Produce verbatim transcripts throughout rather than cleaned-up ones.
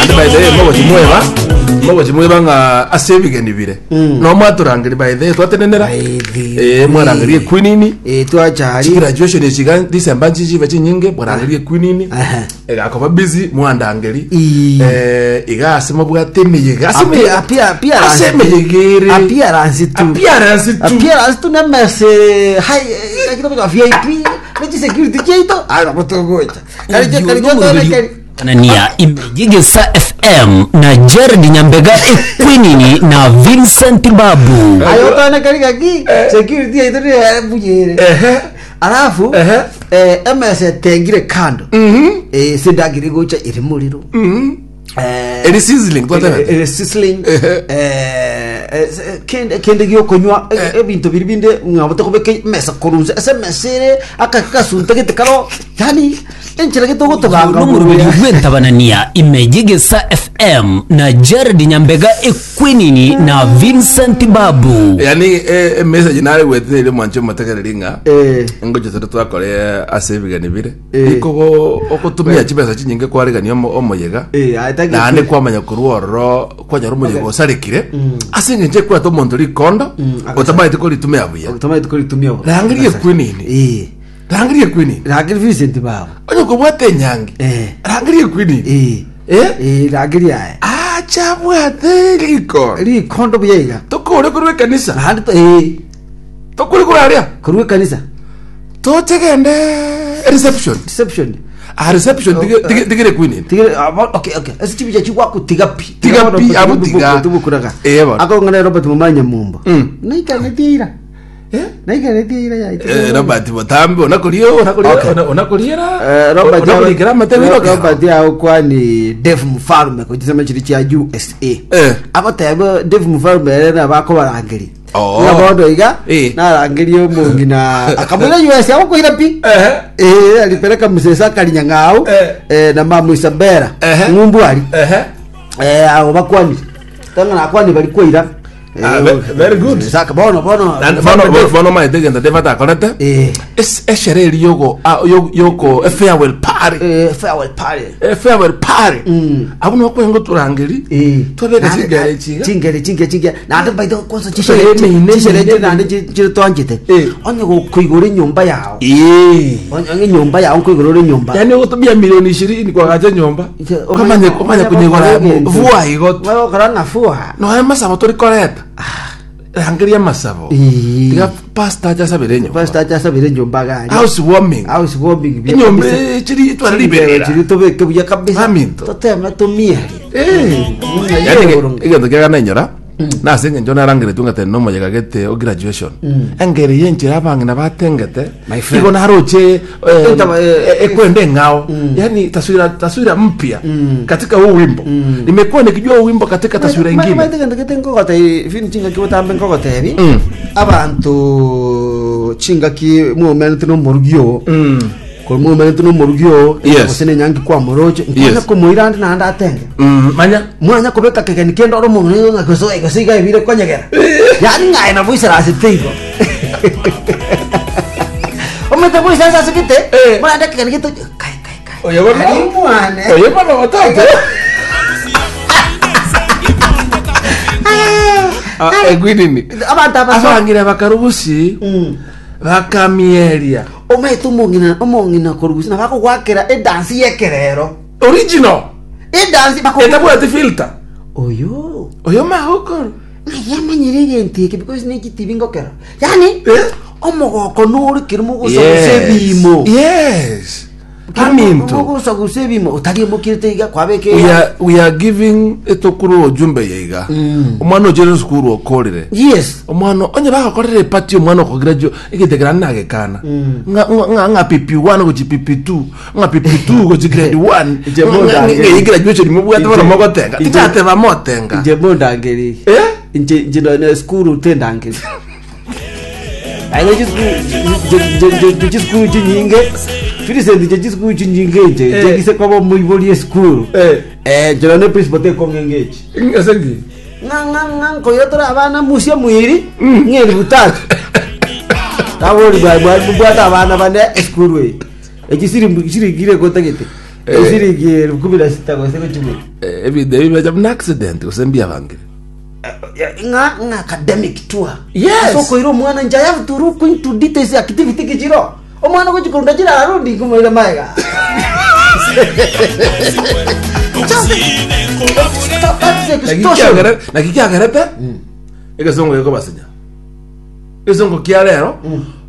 Naende by the way, mogochi mweba mogochi mweba ng'a ase ebigeni bire no mwatorangeri, by the way, twatenenera. By the eh mwarangerie Queen. Eh, twachari. Chigraduation echiga December nchichiba chinyinge, mwarangerie Queen. Aha. Egakoba busy, mwandangeri. Ii. eh iga ase mobwate emeyega ase Appear- emeyega appear- appearance. ase emeyega ere Appearance tu. Appearance tu. Appearance tu nemese hai kakito ka V I P nechi security cheito ara botogocha kari kari kari. Tanania Imejigisa F M na Jared Nyambega Equinini na Vincent Babu. Ayo tone kari kaki security yaito ni buyere. Ehe Alafu Ehe. eh emese tengire kando, eh sindagire gocha iri muriro, eh Eri sizzling twatebete. Eri sizzling. Ehe. eh eh, kende kende gyokonywa, ebinto biri binde ngabo tokobeka mesa korunza ase mesa ere akakasunta gete karo, yani enchera getogotobanga. N'omurubiri gw'entabanania Imejigisa F M na Jared Nyambega Equinini na Vincent Babu. Yani eh, message nare gwetire mwancho mutegereri ng'a eh ngocho tore twakore ase ebigeni bire Eh. ikogo ogotumia chibesa chinyinge kwarigania omo- omoyega Eh, aitaki- naende kwamanya korwa ororo kwanyora omoyega osarekire ase eng'encho ekwata omonto rikondo Mm, otamaete koritumia buya. Tomaite koritumia. Rangerie Queen. eh Rangerie Queen. Rangerie Vincent Babu. Onye kobwate enyangi, Eh. rangerie Queen. eh eh eh rangerie aya. Achabwate rikondo. Rikondo buya iga. Tokore korwa ekanisa. Naende to- eh Tokore korwa aria. Korwa ekanisa. Tochegende reception. Reception. A reception tige- tige- tigere Queen. Tigere ah, bo- okay okay ase chibicha chigwakutiga pi. Tiga pi, abo tiga. Tubukuraga. Eh, bono. Akong'ana Robert Mumanya Mumbo. Mm. Naikanetie ira. Eh? Naikanetie ira yaito. Eh, Robert botambe onakoria onakoria. Okay. Onakoriera. Eh, Robert onakorikera amatebe. Robert yaokwani Dave Mfarume kuchisema chiri chia U S A. Eh. Agoteba Dave Mfarume ere nabakobarangeri. Oh. Ng'a bono iga Eh. narangeria omong'ina akamwira U S A agokoira pi. Eh. Eh, alipeleka mzee Sakari Nyang'au Eh. eh, na mamu Isabella Ehe. ng'umbu ari Ehe. eh abo bakwani tanga nakwani bari kwaira. Ah, ve- very good. Saka bono bono. Na- bono bono- bono maete gento David akorete. eh Es- esherehe eri yoko ah, yo- yoko a farewell party. eh farewell party. A farewell party. Mm. Abo nokwenga turangeri Eh. twabeka Nande- chingere chiga. Chingere chinge chinge nande baito kwanza. Eh, Chishere meine, chishere meine. nande chiri twanjete. Eh. Onye gokuigura enyomba yao. Eh. Onye enyomba yao nkuigura enyomba. Yani ugutumia milioni ishirini kwagacha nyomba, kwamanya kwamanya kunyigora vua igotu. Bagokora ng'a fua. Noe masabo torikoreta, rangeria masabo. Eh. Tiga pastor achasabire enyomba. Pastor achasabire enyomba gari. House warming. House warming buya Enyomba kabisa. chiri twara liberera. Chiri tobeke buya kabisa. Aminto. Toteme tumieri. Eh. Yani egento kiaga nainyora nase eng'encho narangeretwe ng'atene nomoyega gete o graduation, engeri yenchera abang'ina batengete. My friend. Igo naroche eh, Entaba, eh, ekwenda eng'ao, yani taswira taswira mpya katika huu wimbo. Nimekuwa nikijua huu wimbo katika taswira ingine. Maite gento gete nkogotebi fini chingaki botambe nkogotebi Mm. abanto chingaki muomenete nomorugi oo Mm. kori muomenete nomorugi oo Yes. gose nenyangi kwamoroche nkwanya Yes. komoira ande naende atenge. Mm, manya Mwanya kobeka kegeni kende oro omonto ng'a gose gose iga ebire konyegera, yani ng'aye nabo isarasete igo omete boisansa ase gete. Eh. Murande kegeni gete kai kai kai. Oyo bono. Ari mwane. Oyo bono watoto. Ah, egwinini. Abanto abaso. Abang'ina bakarubusi Mm. bakamieria. Omaete omong'ina omong'ina korugusi nabakogwakera edansi yekerero. Original. Edansi bako Etabwati filter. Oyo. Oyo mahokoro. Ng'ai amanyire egento eke because nekitibi ngokera yani Eh? omogoko nore keri mogosagusa ebimo. Yes, aminto. Mogosagusa ebimo otari emokirete iga kwabeke. we are, we are giving etokuru ojumbe yeiga. Mm. Omwana ochere sukuru okorire. Yes. Omwana onye bagakorera epati, omwana okograduate egetekera nagekana Mm. ng'a ng'a ng'a P P one gochi P P two, ng'a P P two gochi grade one. Inche mondangeri. Ng'a graduation mubwate bono Inche- mogotenga. inche- Tichateba motenga. Inche mondangeri. Eh. Inche inche na skuru tendangeri ayo chisukuru chisukuru chinyinge Vincent nche chisukuru chinyinge inche. Eh. Nche gise kwaba moibori esukuru. Eh. Eh nche none principal tekong'engechi. Ng'asengi. Ng'a ng'a ng'a nkoira tore abana musia mwiri ng'eri butatu tabori bwabwate abana bane esukuru eye echi siringire kotagete. Eh. Esiringi elfu kumi na sita gose gochibwe. Eh, ebinto ebi biacha buna accident gose mbiabangire. Ng'a ng'a academic tour. Yes. Ase okoira omwana nje, I have to look into details, activity kichiro omwana gochikorunda chira arundi kumoira maega. Just stop, that's extortion. Naki kiagerete egesongo gekobasinya egesongo kia rero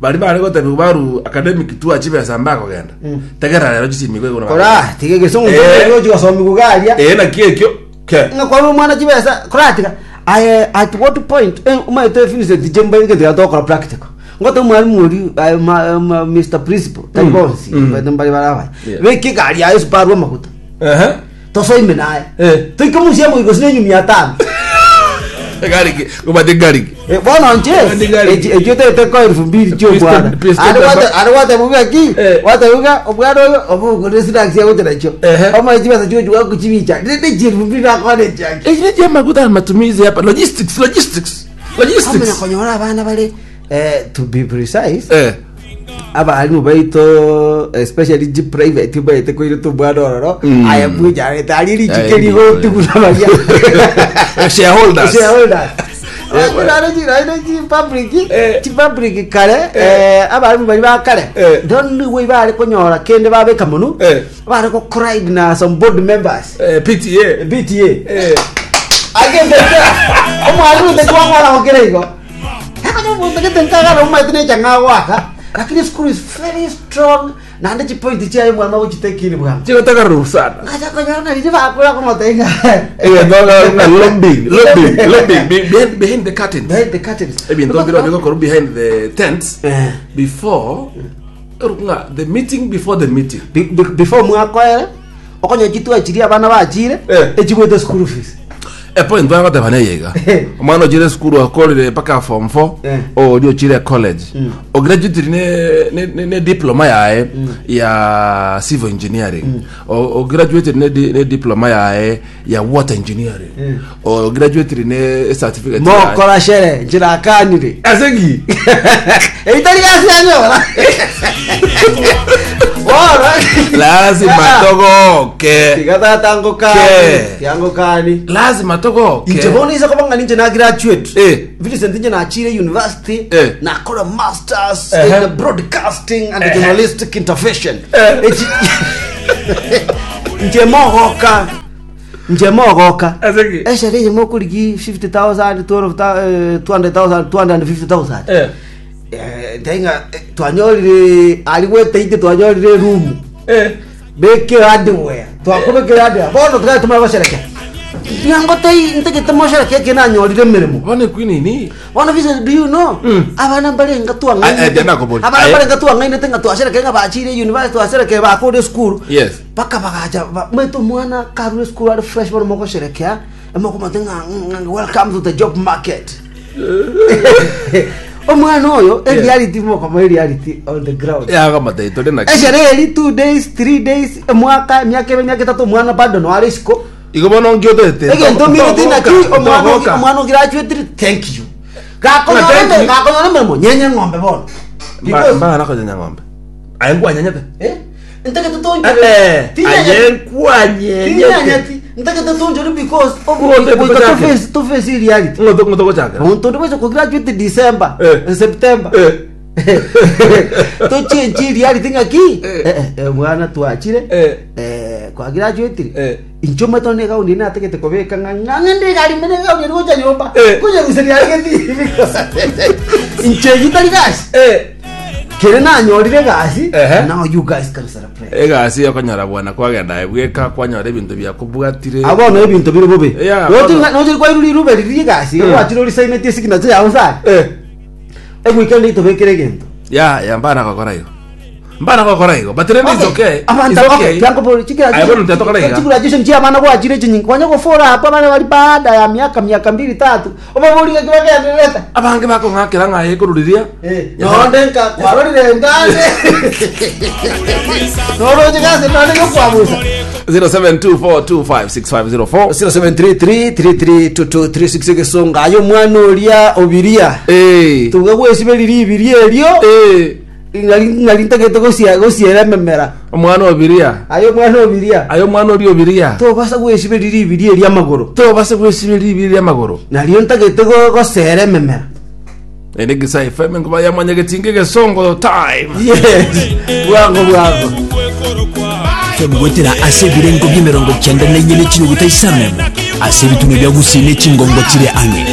bari bare gotebi baru academic tour chibesa mbakogenda tegera rero chisimigwe igoro. Kora tiga gesongo. Eh. Gochigosomi kugaria. Eh, naki ekio ke Ng'a kwa omwana chibesa koratika I, at what point, eh, umaete Vincent jemba igete tokora practical ngote mwalimu ori, eh, ma- ma- Mister Principal tari bonsi Mm. mbari baraba Yeah. beke gari yayo suparwa maguta ehe tosoime naye Eh. toike musia muigo sine nyumi atano. Gariki gobate gariki. Eh, bono nche Ndi gari. ekyo tete ko elfu mbili chio bwana. Pistol- ari wate ari wate muga ki Eh. wate muga omwana oyo obugure snacks ya gutera cho Ehe. omaye chibesa chio chwa kuchibicha ndende chi elfu mbili akone chake. Ekyo je maguta na matumizi hapa, logistics, logistics, Amenya logistics. konyora abana bale, eh, to be precise, eh abarimu baito, especially ji private baite koire tubwana ororo. Mm. Aya bwijarete ari Aye, richike rigoti kunabaria. Shareholders. Shareholders. Eh, Chi public, Eh. chi public kare, eh, abarimu bari ba kare Eh. don't we bare konyora kende babeka mono Eh. bare ko cried na some board members. Eh, P T A. B T A. eh Agende omwalimu tekwang'wara gokera igo akanyamuntegetenkagara omaete nechang'a gwaka, lakini school is very strong naende chipoint chiaye mwana gochitekini bwango. Chigotagaruru sana. Ngacha konyora nariri bakura komotenga. Eh, no, no, lobbying, lobbying, lobbying Be- behind, behind the curtains. Behind the curtains. Ebinto biro bigokoro behind the tents. Eh. Before nga the meeting, before the meeting. Be- be- before mwakoere okonya chitwa chiria abana bachire Eh. echibwete school fees. E point twagoteba neyega omwana ochire sukuru akorire mpaka form four, Eh. ori ochire college ograduate ne, ne, ne, ne diploma yae ya civil engineering, o ograduate ne, di- ne diploma yae ya water engineering, o graduate ne certificate yae. Mokora shere nchirakanire. Asegi Eitari gasi anyora bono. Lazima togoke. Tigatatangokani. Ke. Tiangokani. Lazima togoke. Inche bono isa kobanga ninche na graduate, Eh. Vincent, inche nachire university, Eh. nakora masters Ehe. in broadcasting and Ehe. journalistic intervention. Eh. Echi- nche mogoka nche mogoka. Asegi Eshere eye mokorigi fifty thousand, twelve thousand, two hundred thousand, two hundred fifty thousand. eh Eh, ndenga eh, twanyorire ari gweteite twanyorire room, eh bekire hardware, twakubekire hardware bono tugae tumara gocerekea nyango tei ntegete mocerekea kinanyorire mirimo. Bone kwinini. Bono Vincent, do you know, Mm. abana barenga Ah, eh, ndiana kobori. abana Aye. barenga twang'ainete nga twacerekea nga bachire university, twacerekea bakure school, yes paka bagacha ba- mwetu mwana karure school ari fresh bono mogocerekea emokomate ng'a ng'a, "Welcome to the job market." Omwana oyo e Yeah. reality mokoma e reality on the ground. Yagamatei tore na Eshere eri two days, three days, emwaka, emiaka ebe, emiaka etato, omwana bado noare isiko. Igo bono ngiotete. Egento mirete naki omwana omwana ograduate, thank you, gakonyora. Thank you. Gakonyora emirimo nyenye ng'ombe bono. Because- Mbana nakonyenya ng'ombe aye nkwanyanyete. Eh, ntegete tonjore. Aye nkwanyenyete. Tinyenyeti ntegete tonjore because Ng'ombe goika kuchake. toface toface reality. Ng'oto ng'oto gochakera. Omuntu onde bwese kugraduate December, Eh. September, Eh. tochenchi reality ng'aki. Eh. Eh, eh, mwana twachire, Eh. eh, kwa graduate, Eh. incho matone gauni nategete kobeka ng'a ng'ende gari mene gauni gocha nyomba Eh. kuja guseria geti inche gitari gasi Eh. kere nanyorire gasi. Ehe. Now you guys can celebrate. Egasi okonyora bwana kwagenda bweka kwanyora ebinto biakobwatire. Abono ebinto biri bubi. Yeah, bono. Nochiri kwairuri irube riri gasi gwachire orisaineti esignature yago sana Eh. eweekend itobekere egento. Ya ya mbana gokora igo, mbana gokora igo, but then it's okay. Abantu It's okay. Aye, bono tetokora iga. graduation chia abana gwachire chinyingi kwanya gofora hapo abana bari baada ya miaka miaka mbili tatu obaborire kibagendererete. Abange bakong'akera ng'aye koruriria. Nonde nka kwarorire ngande noroche gase nonde gokwabusa. zero seven two four two five six five zero four. zero seven three three three three two two three six gesonga ayo mwana oria obiria Eh. tuga gwesiberiri ibiria erio. Eh. Ng'ari ng'ari ntagete gosia gosiera ememera. Omwana obiria. Ayo omwana obiria. Ayo omwana ori obiria. Tobasa gwesiberi ribiri eri amagoro. Tobasa gwesiberi ribiri eri amagoro. Nario ntagete go- gosera ememera. Ere Gesa F M ngoba yamwanyagetinga egesongo time. Yes. Bwango bwango. Gwetera ase ebirengo bia emerongo kianda na inye ne chinuguta isano ase ebituno bia Gusii ne chingongo chire ang'e.